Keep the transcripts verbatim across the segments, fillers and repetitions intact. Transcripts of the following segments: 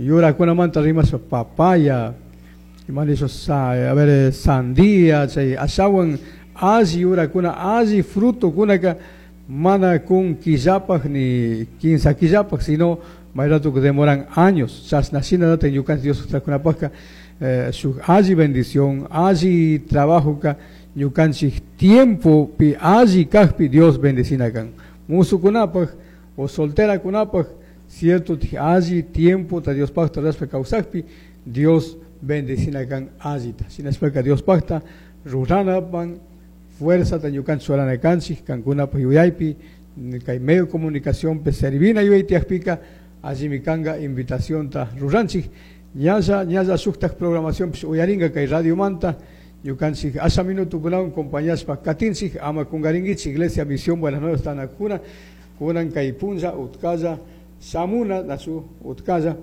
Yurakunamanta rimashpa papaya, ima nisha a ver, sandía, chay ashawan alli yurakuna, alli frutokunaka mana kun killapaj ni kinsa killapaj, sino may rato que demoran años. Chashna shinallata ñukanchik Dios kunapajka eh, shuk alli bendición, alli trabajo ka ñukanchik tiempo pi alli kajpi Dios bendecina kan. Musukunapaj o solterakunapaj cierto alli tiempo ta Dios pajta rurashpa kawsakpi Dios bendecina kan allita. Shinashpaka Dios pajta ruranapan fuerza ta ñukanchik churana kanchik kankunapaj yuyaypi kay medio de comunicación pe servina yuyay tiyakpika allimi kanka invitación ta ruranchik. Ñalla ñalla shuktak programación pish uyarinka kay radio manta ñukanchik asha minutukunawan compañashpa katinchik ama kungarinkichik Iglesia Misión Buenas Nuevas tanakuna kunan kay punlla utkalla shamuna nachu utkalla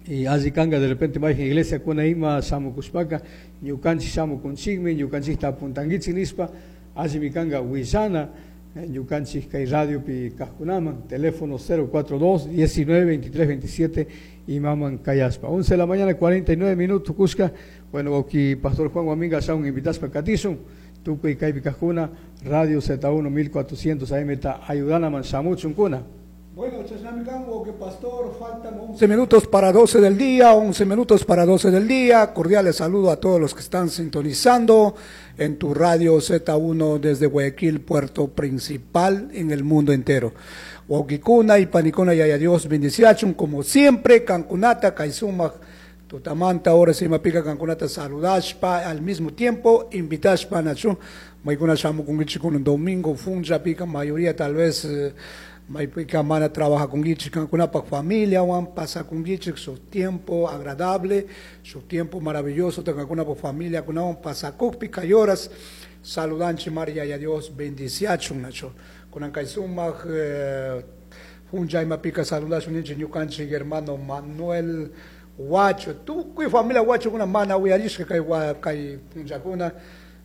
y alli kanka de repente mayjin iglesia kuna ima shamukushpaka ñukanchik shamukunchikmi ñukanchikta apuntankichik nishpa allimi kanka willana ñukanchik kay radiopi kajkunaman teléfono cero cuatro dos diecinueve veintitrés veintisiete imaman kayashpa once de la mañana cuarenta y nueve minutos kushka. Bueno, wawki Pastor Juan Guaminga shaun invitashpa katishun tukuy kaypi kajkuna Radio Z uno mil cuatrocientos A M ta ayudanaman shamuchunkuna. Bueno, chashnami kan, que pastor, faltan once minutos para doce del día, once minutos para doce del día. Cordiales saludo a todos los que están sintonizando en tu radio Z uno desde Guayaquil, puerto principal en el mundo entero. Wawqikuna y panikuna yaya Dios bendiciachun, como siempre, Cancunata, Kaisumaj, Tutamanta, ahora sí me pica Cancunata, saludashpa, al mismo tiempo, invitashpa, Nachu, Maikuna shamu con un domingo, funja pica, mayoría tal vez, eh, Maipika mana trabaja con Gichi, con una familia, Juan pasa con Gichi, su tiempo agradable, su tiempo maravilloso, tenga con una familia, con una pasa con pica y horas, saludanche María y a Dios, bendiciachun, Nacho, con Ancaizuma, eh, funja y mapica saludacho, niche, ñucanche, hermano Manuel Huacho, tú, cuy familia Huacho, una mana, uyarishka, kai, kai, funja, kuna,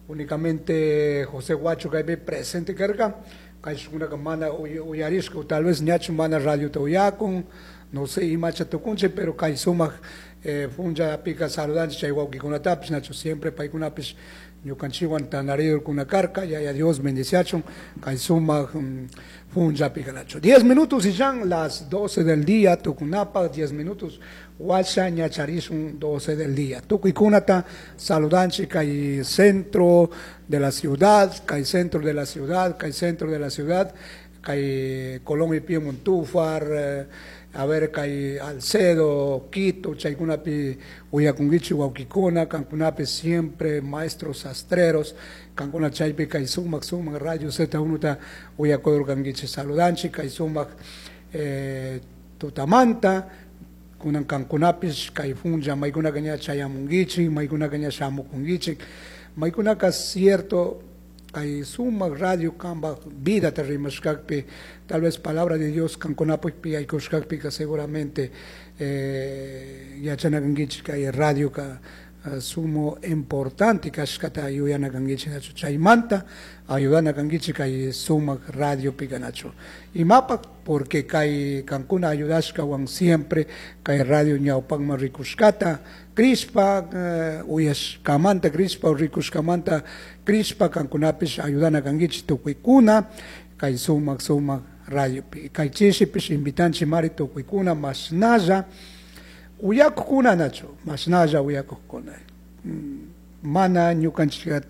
únicamente José Huacho, que ve presente, carga. Kay una mana uyarishka, o tal vez ñachu mana radio te uyakun, no sé, imacha tukunche, pero kay sumaq, eh, funja pica saludanche, chay wawqikunatapis, nacho siempre paykunapis ñukanchikwan tanarido kuna karka, ya ya Dios bendiciachun, kay sumaq, mm, funja pica nacho. Diez minutos y ya las doce del día, tukunapa, diez minutos, washa ñacharishun doce del día. Tukuy-kunata saludanche, kay centro de la ciudad, kay centro de la ciudad, kay centro de la ciudad, kay Colón y Pío Montúfar, eh, a ver, kay Alcedo, Quito, chaykunapi, uyakunguichi, wawqikuna, kankunapi siempre maestros sastreros, kankuna chaypi kay sumaq, sumaq, radio Z uno ta uyakudur kanguichi, saludanchi, kay sumaq, eh, tutamanta, kunan kankunapis, kay funja, maykuna kaña chayamunguichi, maykuna kaña shamukunguichi, maykunaka cierto, kay sumaq radio kamba vida te rimashkakpi, tal vez palabra de Dios kankunapi aykushkakpi ka seguramente, eh, yachanakankichik kay radio ka, eh, sumo importante kashkata yuyanakankichik nachu chaymanta ayudanakankichik kay sumaq radio pikanachu imapak porque kay kankuna ayudashkawan siempre kay radio ñawpakman rikushkata Crispa, eh, uyashkamanta Crispa rikushkamanta Crispa kankunapish ayudanakankichik tukuykuna kay sumaq sumaq radio pi kay chishipish invitanchik mari tukuykuna mashnalla uyakukuna nachu mashnalla uyakukuna mm, mana ñukanchik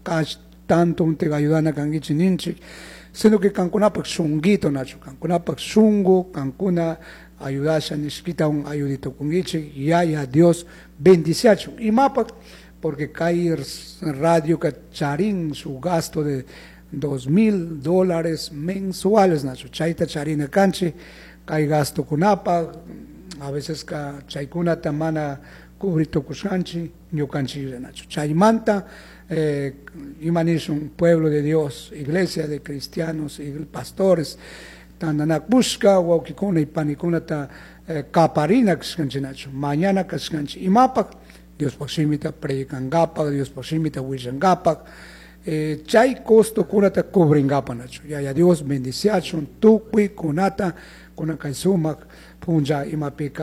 kash tanto te ayudana kankichik ninchik sino que kankunapak shunguito nachu kankunapak shungu kankuna ayudasha nishkita un ayudito kungichik yaya Dios bendiciachu imapak porque kay radio ka charin su gasto de dos mil dólares mensuales nachu chayta charina kanchi kay gasto kunapa a veces ka chaykunata mana cubrito kushanchi ñukanchik nachu chaymanta, eh, imanishun pueblo de Dios, iglesia de cristianos, pastores, tandanakushka wawqikuna y panikunata, eh, kaparina kashkanchik nachu mañana kashkanchik imapak Diospaq shimita predikangapak Diospaq shimita willangapak, eh, chay costo kunata cubringapak nachu yaya Dios bendiciachun tukuy kunata kunan kay sumak punlla imapika